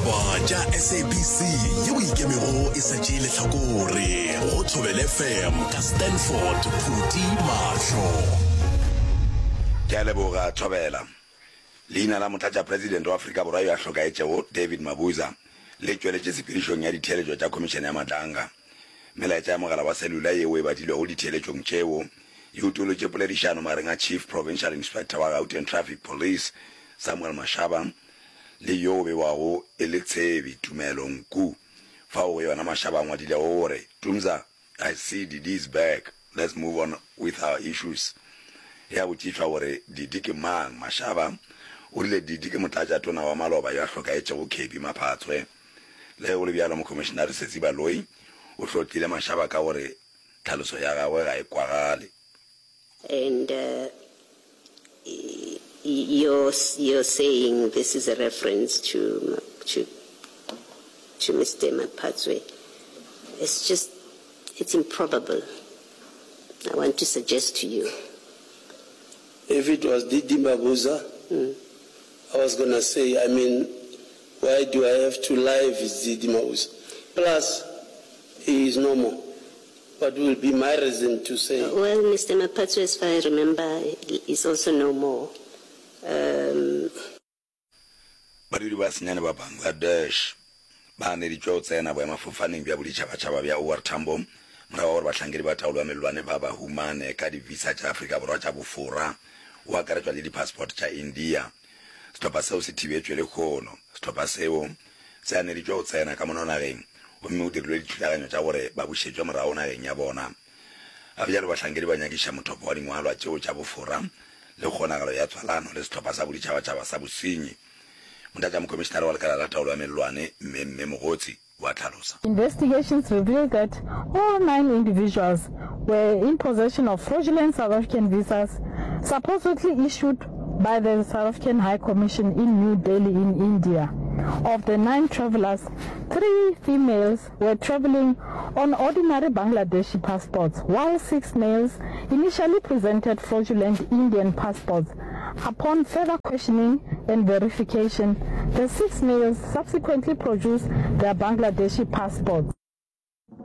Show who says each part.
Speaker 1: Ditaba tša SABC yeo e ikemego e sa tšee lehlakore go Thobela FM ka Stanford Phuti Mahlo.
Speaker 2: Ke a leboga, Thobela. Leina la Motlatšapresidente wa Afrika Borwa yo a hlokaetšego, David Mabuza, le tšweletše tshepedišong ya ditheeletšo tša Khomišene ya Madlanga. Melaetša ya mogala wa selula yeo e badilwego ditheeletšong tšeo e utolotše poledišano magareng a Chief Provincial Inspector wa Gauteng Traffic Police, Samuel Mashaba, le yo o bewago e le tshebi, Tumelo Nku, fao go yona Mashaba a ngwadilego gore, Tumza, I see Didi is back, let's move on with our issues. Ge a botšišwa gore Didi ke mang, Mashaba o rile Didi ke motlatšatona wa maloba yo a hlokaetšego Kebby Maphatswe. Le ge go le bjalo, Mokhomišenare Setsi Baloyi o hlotlile Mashaba ka gore tlhaloso ya gagwe ga e kwagale.
Speaker 3: And you're, you're saying this is a reference to, to, to Mr. Maphatswe. It's just, it's improbable. I want to suggest to you.
Speaker 4: If it was Didi Mabuza, mm. I was gonna say, I mean, why do I have to lie if it's Didi Mabuza? Plus, he is no more. What will be my reason to say?
Speaker 3: Well, Mister Maphatsoe, as far I remember, is also no more. Um.
Speaker 2: Badudi ba senyane ba Bangladesh ba ganeditšwe go tsena boemafofaneng bja boditšhabatšhaba bja OR Tambo morago ga gore bahlankedi ba taolo ya mellwane ba ba humane ka di-visa tša Afrika Borwa tša bofora go akaretšwa le di-passport tša India. Sehlopha seo se thibetšwe lehono. Sehlopha seo se ganeditšwe go tsena ka mono nageng gomme go dirilwe dithulaganyo tša gore ba bušetšwe morago nageng ya bona. Ga bjalo bahlankedi ba nyakiša mothopo wa dingwalwa tšeo tša bofora le kgonagalo ya tswalano le sehlopha sa boditšhabatšhaba sa bosenyi. Motlatšamokhomišenare wa Lekala la Taolo ya Mellwane, Mme Mme Mogotsi, o a hlalosa.
Speaker 5: Investigations revealed that all nine individuals were in possession of fraudulent South African visas supposedly issued by the South African High Commission in New Delhi in India. Of the nine travellers, three females were travelling on ordinary Bangladeshi passports while six males initially presented fraudulent Indian passports. Upon further questioning and verification, the six males subsequently produced their Bangladeshi passports.